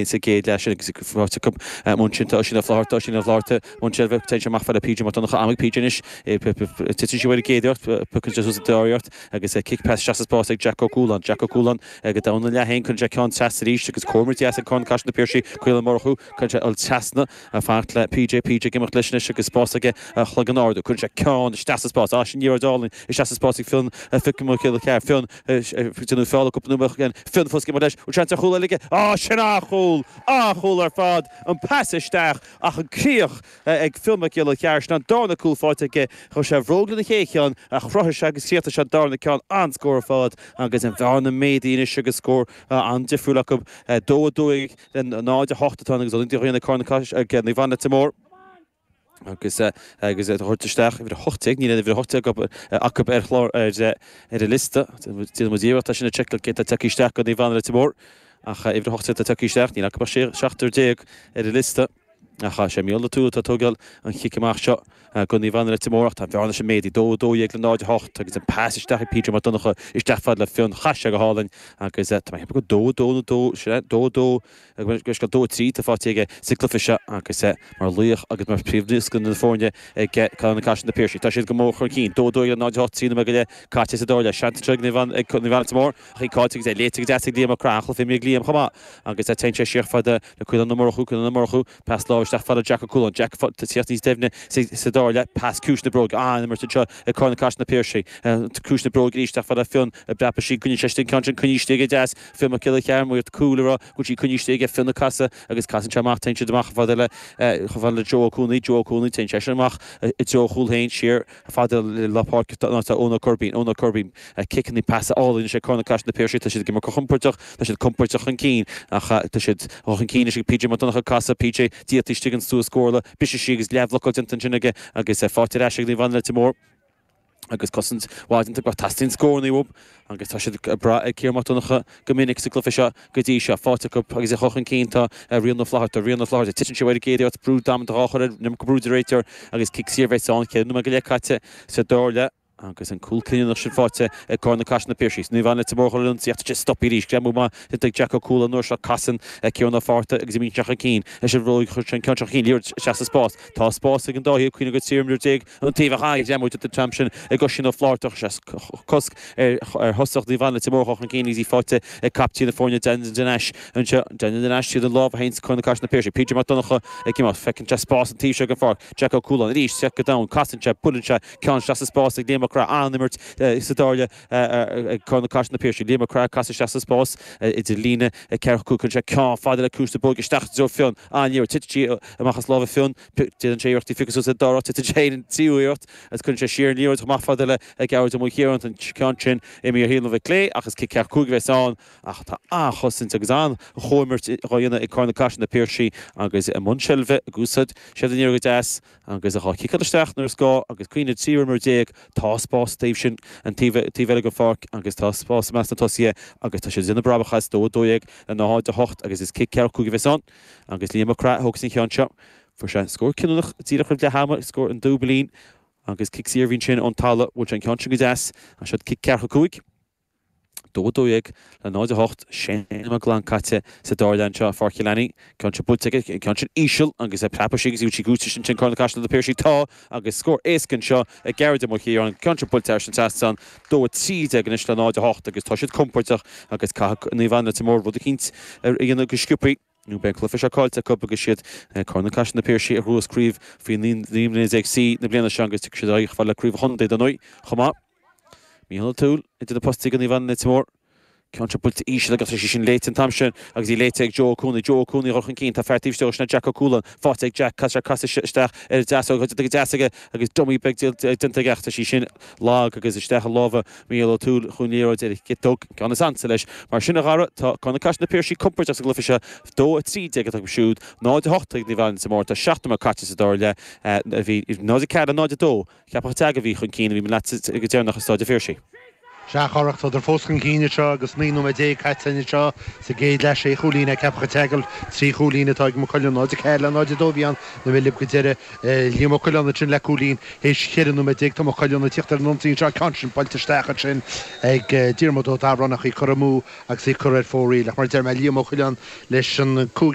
Sa gcéad leath sin agus faighte acu ansin tá Oisín Ó Flatharta, Oisín Ó Flatharta, i mbun seilbhe, téann sé amach fad le PJ Mac Donncha, am ag PJ anois, titeann sí uaidh ar an gcéad iarracht, piocann sé suas an dara iarracht agus cic pas isteach sa spás ag Jack Ó Cualáin, Jack Ó Cualáin go domhan an leath féin, cuireann sé ceann trasna arís agus comhimirt dheas ag Corn Caiseal na Piarsaigh, Caolán Ó Murchú, cuireann sé ul trasna fanacht le PJ, PJ ag imeacht leis anois agus spás aige a chloigeann a ardú, cuireann sé ceann isteach sa spás, á sin liathróid álainn isteach sa spás ag Fionn, Fionn Mac Giolla Chearr, Fionn. Déanadh feall cúpla nóiméad ó shin. Fionn fós ag imeacht leis. Bhfuil seans ar chúl eile aige? Á, sin an-chúl! An-chúl ar fad! An pas isteach ach an críoch ag Fionn Mac Giolla Chearr. Sin an darna cúl faighte aige. Chuir sé a bhróg lena chéad cheann ach chruthaigh sé agus chríochnaigh sé an darna ceann. An-scór ar fad agus an bhearna méadaithe anois agus scór an-difriúil acu. 2, 12 le 0, 8 atá ann agus ionadaí Dhaonna Corn ag Naomh Anna Leitir Móir. agus agus a thabhairt isteach uimhir 18, níl aon uimhir 18 acu ar chlár ar ar an liosta. Déanfaidh muid iarracht é sin a sheiceáil cé atá tagtha isteach go Naomh Anna Leitir Móir ach uimhir 18 atá tagtha isteach, níl acu ach 17 ar an liosta. Ach sé Mícheál Ó Tuathail atá ag tógáil an chic amach seo go Naomh Anna Leitir Móir ach tá an bhearna sin méadaithe, 2, 12 le 0, 8 agus an pas isteach ag PJ Mac Donncha isteach fad le Fionn, chaith sé go hálainn agus tá mé ag ceapadh gur 2, 2 nó 2, sea, 2, 2 Agus 2, 3 atá faighte aige sa gcluiche seo agus é mar laoch agus mar phríomhnaoscaire na foirne ag Corn Caiseal na Piarsaigh. Tá siad go mór chun cinn. 2, 12 le 0, 8, 3 nóiméad go leith caite sa dara leath. Seans anseo ag Naomh Anna Leitir Móir ach í caillte agus é léite go deas ag Liam Ó Craith. An-chluiche imeartha ag Liam chomh maith agus téann sé siar fad le Caolán Ó Murchú, Caolán Ó Murchú, pas láimhe isteach fad le Jack Ó Cualáin. Jack ag tíocht níos doimhne sa dara leath. Pas ciumhais na bróige. An-imirt anseo ag Corn Caiseal na Piarsaigh. Ciumhais na bróige arís isteach fad le Fionn ag breapadh sí. Coinníonn sé istigh an ceann sin coinnithe istigh aige deas. Fionn Mac Giolla Chearr, maíodh cúl a raibh go bhfuil sí coinnithe istigh aige, Fionn ag casadh agus casann sé amach, téann siad amach chomh fada le, chomh fada le Joe Ó Cuanaigh, Joe Ó Cuanaigh, téann seisean amach i dtreo a chúil féin, siar chomh fada le lár páirce ná tá Eoin Ó Coirbín, Eoin Ó Coirbín, ciceanna pasa álainn anois ag Corn Caiseal na Piarsaigh, tá siad ag imirt go compordach, tá siad compordach chun cinn ach tá siad chun cinn anois ag PJ Mac Donncha ag casadh, PJ díolta istigh an stua scórála, briseadh sí agus leathbhlocáil déanta ansin aige agus faighte ar ais ag Naomh Anna Leitir Móir. agus cosaint mhaith déanta acu ach teastaíonn scóranna uathu agus tá siad ag brath ar Ciarán Mac Donncha go minic sa gcluiche seo go dtí seo. Faighte acu agus é chun cinn tá Rian Ó Flatharta, Rian Ó Flatharta, titeann sé uaidh ar an gcéad iarracht, brú damanta dhá chur air, an iomarca brú ón réiteoir agus cic saor a bheas ann, 4 nóiméad go leith caite sa dara leath agus an cúl cinniúnach sin faighte ag Corn Caiseal na Piarsaigh. Naomh Anna Leitir Móir chun an ionsaí ach tá sé stoptha arís. Greamú maith déanta ag Jack Ó Cualáin an uair seo. Casann Ciarán Ó Fátharta agus imíonn sé chun cinn leis an bhróig chuir sé an ceann seo chun cinn, liathróid isteach sa spás. Tá spás ag an dá thaobh, cuimhnigh gur 13 imreoir An taobh ach an-ghreamú déanta an t-am sin ag Oisín Ó Flátharta chuir sé cosc ar thosach Naomh Anna Leitir Móir a dhul chun cinn agus í faighte ag captaen na foirne Daniel Nash anseo. Daniel Nash tríd an lámh a théann Corn Caiseal na Piarsaigh. PJ Mac Donncha ag imeacht. Feiceann sé spás an taobh seo den pháirc. Jack Ó Cualáin arís isteach go domhain. Casann sé, buaileann sé ceann isteach sa spás ag Liam Mac Craith. An-imirt sa dara leath ag Corn Caiseal na Piarsaigh. Liam Mac Craith ag casadh isteach sa spás idir líne 4 5. Cuireann sé ceann fada le ciumhais na bróige isteach i dtreo Fionn. An-liathróid. Titeann sí amach as lámha Fionn. Déanann sé iarracht í a phiocadh suas sa dara háit, titeann sé ar an tríú iarracht agus cuireann sé siar an liathróid chomh maith fada le Gearóid Ó Maoilchiaráin. An ceann sin imithe ar thaobh na clé ach is cic ceathracha 5 a bheas ann ach tá an-chosaint agus an-chomhimirt á dhéanamh ag Corn Caiseal na Piarsaigh agus i mbun seilbhe ag úsáid siad an liathróid go deas agus á chiceáil isteach nuair is gá agus cuimhnigh 13 imreoir tá spás sa taobh sin an taobh taobh eile den pháirc agus tá spás i measc na tosaithe agus tá siad ag déanamh brabach as 2 12 le 0 8 agus is cic ceathracha 5 a bheas ann. Agus Liam Mac Craith a thógfas an ceann seo. Fuair sé scór cinniúnach díreach roimh leath ama, scór an dúbailín agus cic saor a bhí ansin ón talamh. Bhuail sé an ceann sin go deas. Ach seo cic ceathracha 5. 2 12 le 0 8. Sé nóiméad glan caite sa dara leath anseo i Pháirc Chill Ainnín. Ceann seo buailte aige, an ceann sin íseal agus é preabadh sí agus í cúiteamh sin Corn Caiseal na Piarsaigh. Tá agus scór éasca anseo ag Gearóid Ó Maoilchiaráin. An ceann seo buailte thar an trasnán. 2 13 anois le 0 8 agus tá siad compordach agus caithfidh Naomh Anna Leitir Móir rud eicínt a dhéanamh go sciobthaí nó beidh an cluiche seo caillte acu agus siad Corn Caiseal na Piarsaigh a ghnóthós craobh faoi 19 mbliana C na bliana seo agus tiocfaidh siad ar aghaidh chomh fada le craobh an chontae dar ndóigh chomh maith. Mícheál Ó Tuathail idir na postaí do Naomh Anna Leitir Móir. Ceann seo buailte íseal agus tá sí sin léite an t-am sin agus í léite ag Joe Ó Cuanaigh. Joe Ó Cuanaigh a dhul chun cinn. Tá fear taobh istigh sin Jack Ó Cualáin. Faighte ag Jack. Caithfidh sé casadh isteach ar an deasóg. Tá go deas aige agus dummy beag déanta aige ach tá sí sin lag agus isteach i lámha Mhícheál Ó Tuathail chuaigh an liathróid ar a chiotóg. Ceann is ansa leis. Mar sin a Dhara, tá Corn Caiseal na Piarsaigh compordach sa gcluiche seo. 2 13 atá acu siúd. 0 8 ag Naomh Anna Leitir Móir. Tá 7 nóiméad caite sa dara leath. Bhí 0 4 0 2. Ceapach Deagh a bhí chun cinn a bhí mé leat go deireanach i Staid an Phiarsaigh. Sea, a Chárthach, tádar fós chun cinn anseo agus 19 nóiméad caite anseo sa gcéad leath. Sé chúilín ag Ceapach an tSeagail, 3 chúilín atá ag Maigh Cuilinn, 0-4 le 0-2 a bhí ann na milleadh go deireadh. Liam Ó Coileáin ansin le cúilín théis 14 nóiméad. Tá Maigh Cuilinn ag tíocht ar an ionsaí anseo, ceann sin buailte isteach ansin ag Diarmuid Ó Dabhráin ach í curtha amú agus í curtha ar fóraoil. Ach mar a deir mé, Liam Ó Coileáin leis an cúigiú.